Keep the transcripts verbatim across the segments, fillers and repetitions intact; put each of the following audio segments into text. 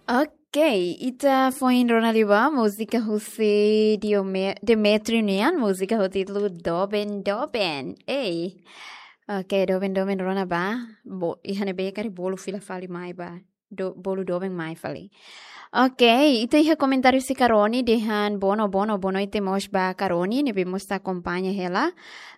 Ok, ita foin rona liu ba múzika husi Diome-, Demetrio nian, múzika ho títulu Doben Doben. Ei. Ok, Doben Doben rona ba. Bo, iha ne'ebé karik bolu fila fali mai ba. Do, bolu doben mai fali. Ok, ita iha komentáriu husi Karoni dehan bono, bono, boa noite mós ba Karoni, ne'ebé mós ita akompaña hela.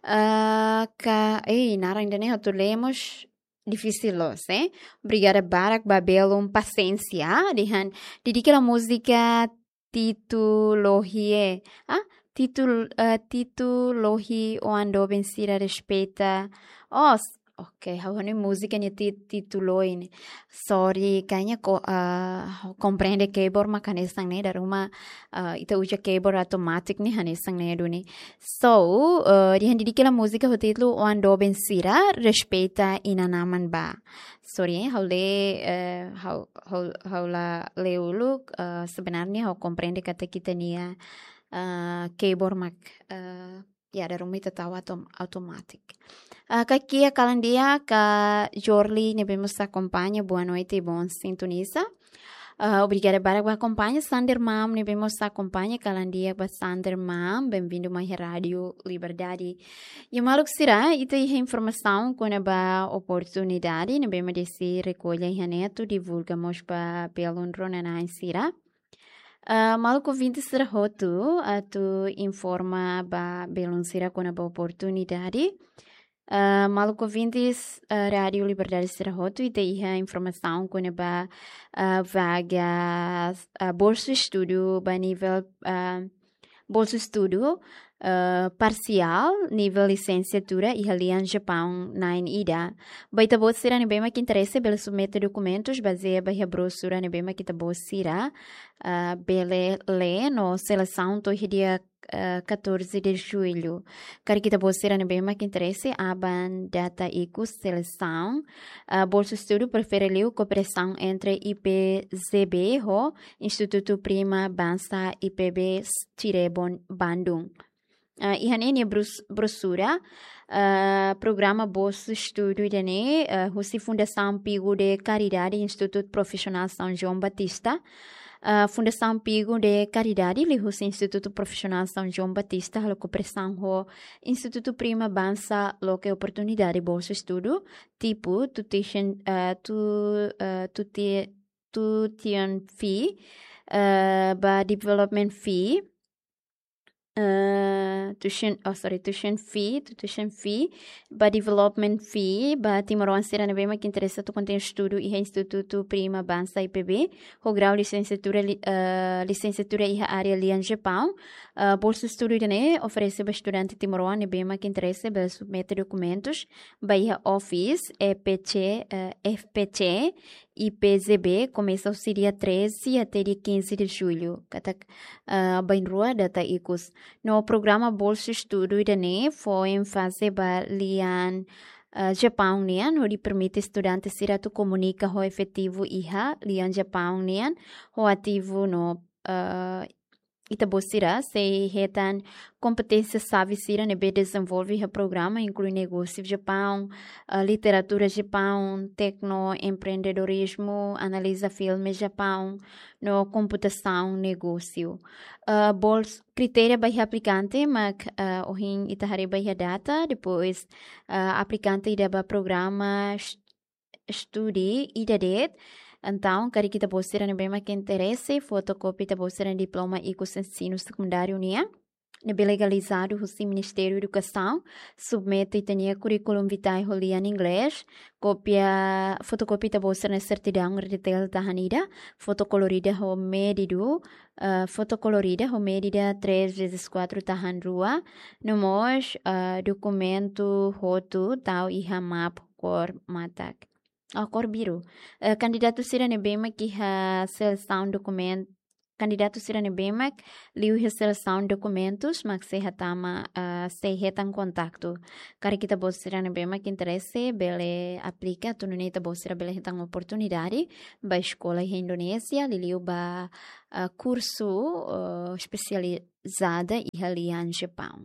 Ah, ka, ei, naran ida-ne'e atu lee mós difisil loos, eh. Obrigada barak ba belun pasiénsia, dehan dedika hela múzika Titu Lohi, eh. Ah, Titu, eh, Titu Lohi, oan doben sira respeita. Oh, s-, ok, ha'u hanoin múzika nia ti-, Titu Lohi ne'e. Sorry, kayaknya ko, eh, komprende keyboard mak hanesan ne'e, dala ruma, eh, ita uza keyboard automatic ne'e hanesan ne'e duni. So, eh, dehan dedika hela múzika ho títulu oan doben sira respeita inan-aman ba. Sorry, eh, ha'u lee, eh, ha'u, ha'u, ha'u la lee uluk, eh, sebenarnya ha'u komprende katak ita-nia, eh, keyboard mak, eh, ya, dala ruma ita tau autom-, automatic. Eh, kaki kalan di'ak, Kak Jorli ne'ebé mós akompaña, boa noite, bom sintonizar. Ah, obrigada barak ba akompaña, Sander Mam ne'ebé mós akompaña, kalan di'ak ba Sander Mam, bem-vindo mai Rádiu Liberdade. I maluk sira, ita iha informasaun kona-ba oportunidade ne'ebé mak Desi rekolla iha ne'e atu divulga mós ba belun rona-na'in sira. Ah, maluk ouvinte sira hotu, atu informa ba belun sira kona-ba oportunidade. Ah, maluk ouvinte, ah, Rádiu Liberdade sira hotu, ita iha informasaun kona-ba, ah, vaga, ah, bolsu estudu ba nivel, ah, bolsu estudu, ah, parsiál, nivel lisensiatura iha lian Japaun na'in ida. Ba ita-boot sira ne'ebé mak interese, bele submete dokumentus bazeia ba iha brosura ne'ebé mak ita-boot sira, ah, bele lee no selesaun to'o iha dia, eh, catorze de julho. Karik ita-boot sira ne'ebé mak interese, aban data ikus selesaun, eh, bolsu estudu prefere liu kooperasaun entre I P Z B ho Institutu Prima Bansa I P B Cirebon, Bandung. Eh, iha ne'e nia brus-, brosura, eh, programa bolsu estudu ida-ne'e, eh, husi Fundasaun Pingo de Caridade, Institutu Profisionál São João Batista, ah, Fundasaun Pingo de Caridade, liuhusi Institutu Profisionál São João Batista, halo kooperasaun ho Institutu Prima Bansa, loke oportunidade bolsu estudu, tipu, tuition, ah, tu-, ah, tuti-, tuition fee, ah, ba development fee, eh, tuition, oh, sorry, tuition fee, tu-, tuition fee, ba development fee, ba timoroan sira ne'ebé mak interese atu kontinua estudu iha Institutu Prima Bansa I P B, ho grau lisensiatura li-, eh, lisensiatura iha área lian Japaun. Eh, bolsu estudu ida-ne'e oferese ba estudante timoroan ne'ebé mak interese bele submete dokumentus ba iha office E P C, eh, F P C, I P Z B, komesa husi dia treze até dia quinze de julho. Katak, ah, bainrua data ikus. No programa bolsu estudu ida-ne'e fó énfaze ba lian, ah, Japaun nian, hodi permite estudante sira atu komunika ho efetivu iha lian Japaun nian, ho ativu no, ah, ita-boot sira sei hetan kompeténsia xave sira ne'ebé dezenvolve iha programa, inklui negósiu Japaun, ah, literatura Japaun, tekno empreendedorizmu, analiza filme Japaun, no komputasaun negósiu. Ah, bols-, kritéria ba iha aplikante mak, ah, ohin ita haree ba iha data, depois, ah, aplikante ida ba programa est-, estudu ida de'it. Entaun, karik ita-boot sira ne'ebé mak interese, fotokópia ita-boot sira diploma ikus ensinu sekundáriu nian ne'ebé legalizadu husi Ministériu Edukasaun, submete ita-nia curriculum vitae ho lian inglés, kópia, fotokópia ita-boot sira-nia sertidaun R D T L tahan ida, foto kolorida ho medidu, eh, foto kolorida ho medida três vezes quatro tahan rua, no mós, eh, dokumentu hotu tau iha map kór matak. Oh, kór biru. Eh, kandidatu sira ne'ebé mak iha selesaun dokumen-, kandidatu sira ne'ebé mak liu iha selesaun dokumentus mak sei hatama, eh, sei hetan kontaktu. Karik ita-boot sira ne'ebé mak interese bele aplika, atu nune'e ita-boot sira bele hetan oportunidade ba eskola iha Indonézia, liuliu ba, eh, kursu, eh, espesializada iha lian Japaun.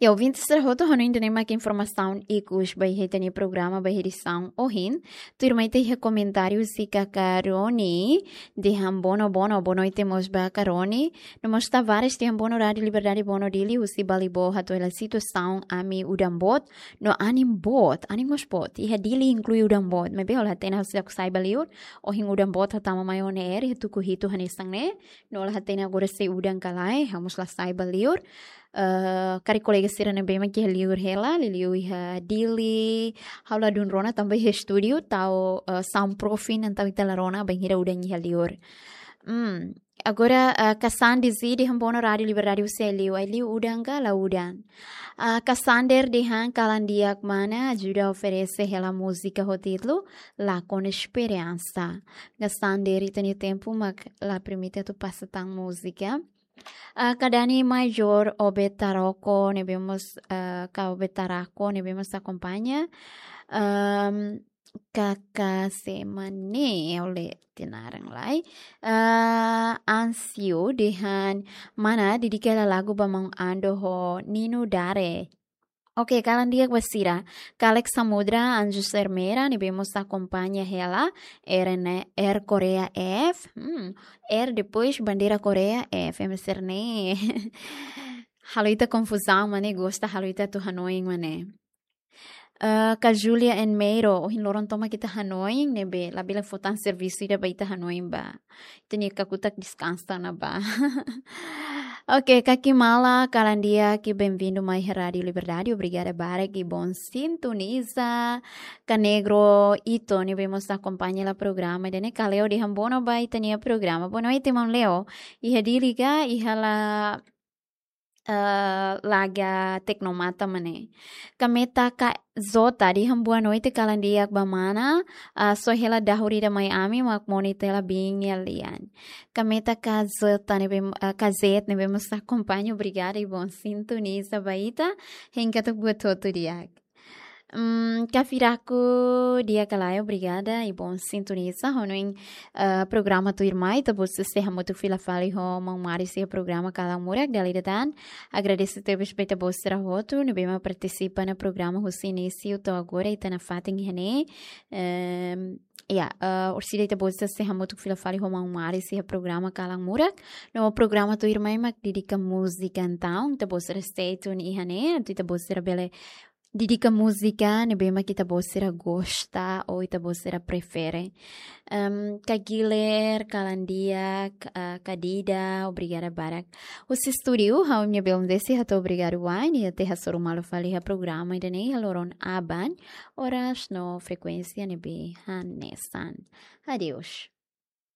Ya, ouvinte sira hotu, hanoin ida-ne'e mak informasaun ikus ba iha ita-nia programa ba edisaun ohin. Tuirmai ita iha komentáriu husi Kakaroni, dehan bono, bono, boa noite mós ba Karoni. No mós Tavares dehan bono Rádio Liberdade, bono Dili, husi Balibo, hato'o hela situasaun ami udan boot, no anin boot, anin mós boot. Iha Dili inklui udan boot. Maibé ó la hatene, ha'u seidauk sai ba liur, ohin udan boot hatama mai ona iha tuku hitu hanesan ne'e. No ó la hatene agora sei udan ka lae, ha'u mós la sai ba liur. Eh, karik kolega sira ne'ebé mak iha liur hela, liuliu iha Dili, ha'u ladún rona tanba iha estúdiu, tau, eh, soundproofing, entaun ita la rona bainhira udan iha liur. Hmm. Agora, eh, Kasandi Zi dehan bono Rádio Liberdade husi Aileu, Aileu udan ka la udan. Eh, Kasander dehan kalan di'ak mana, ajuda oferese hela múzika ho títulu, Lakon Esperansa. Kasander, ita-nia tempu mak la permite atu pasa tan múzika. Ah, Kadani Major Obed Taroko, ne'ebé mós, ah, ka Obed Tarako, ne'ebé mós akompaña. Ahm, Kaka Semane, ha'u lee tiha naran lai. Ah, Ansio dehan mana, dedika hela lagu ba maun Ando ho Nino Dare. Oke, kalan di'ak ba sira. Kalex Samudra, Anjos Ermera, ne'ebé mós akompaña hela, R N R Korea F. Hmm, R depois bandeira Korea F, M S R ne'e. Halo ita konfuzaun, maibé gosta halo ita atu hanoin, maibé. Eh, ka Julia N Meiro, ohin loron tomak ita hanoin, ne'ebé labele fó tan servisu ida ba ita hanoin ba. Ita-nia kakutak deskansa ona ba. Oke, Kaki Mala, kalan di'ak, bem-vindo mai Rádio Liberdade, obrigada barak, i bom sintoniza. Ka Negro Ito, ne'ebé mós akompaña hela programa, ida-ne'e, ka Leo dehan bono ba ita-nia programa. Boa noite, maun Leo. Iha Dili ka, iha la, eh, Laga Teknomata mana. Ka Meta Ka Zota dehan boa noite, kalan di'ak ba mana, ah, só hela dahur ida mai ami, mak moni tela bin ya lian. Ka Meta Ka Zota ne'ebé, ah, Ka Zet ne'ebé mós akompaña, obrigada, i bom sintoniza ba ita, hein katak buat hotu di'ak. Hmm, Ka Firaku di'ak ka lae, obrigada, i bom sintoniza, hanoin, ah, programa tuirmai, ita-boot sei hamutuk fila fali ho maun Mari iha programa Kalan Murak, dala ida tan. Agradese tebes ba ita-boot sira hotu, ne'ebé mak partisipa iha programa husi inísiu to'o agora, ita nafatin iha ne'e. Ehm, ya, eh, orsida ita-boot sei hamutuk fila fali ho maun Mari iha programa Kalan Murak. No programa tuirmai mak dedika múzika, entaun ita-boot sira stay tune iha ne'e, atu ita-boot sira bele dedika múzika ne'ebé mak ita-boot sira gosta ou ita-boot sira prefere. Em, Ka Giler, kalan di'ak, Ka, ah, Ka Dida, obrigada barak. Husi estúdiu, ha'u-nia belun Desi hato'o obrigadu wa'in, i até hasoru malu fali iha programa ida-ne'e iha loron aban, oras no frekuénsia ne'ebé hanesan. Adeus.